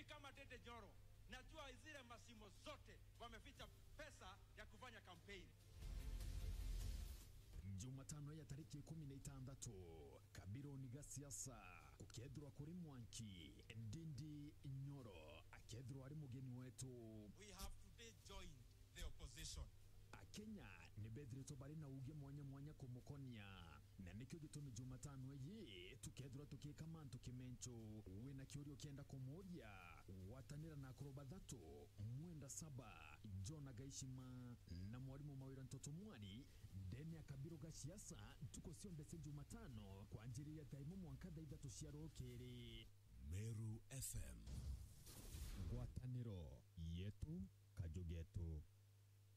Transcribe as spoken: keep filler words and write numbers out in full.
Kama Ndindi Nyoro, najua zile mashimo zote wameficha pesa ya kufanya campaign. Jumatano ya tariki ikumi na itandatu, Kabironi ga siasa gukethirwa kuri mwanki, Ndindi Nyoro akethirwa ari mugeni wetu. We have today joined the opposition. Akenya ni bethiritwe bari na uuge mwanya mwanya kumukonia, na nikio gitumi Jumatano iji tukethirwa tukiika mantu kimencho. Wina kiuria ukienda kumuuria, gwatanira na akuru bathatu, Mwenda Saba, Jona Gaishima, na mwarimu Mawira Ntoto Mwari, ndene ya Kabiro ga siasa, ntuku cionthe cia Jumatano, kwanjiriria thaa imwe mwanka thaa ithatu cia rukiri. Meru F M. Ngwataniro yetu, kaju getu.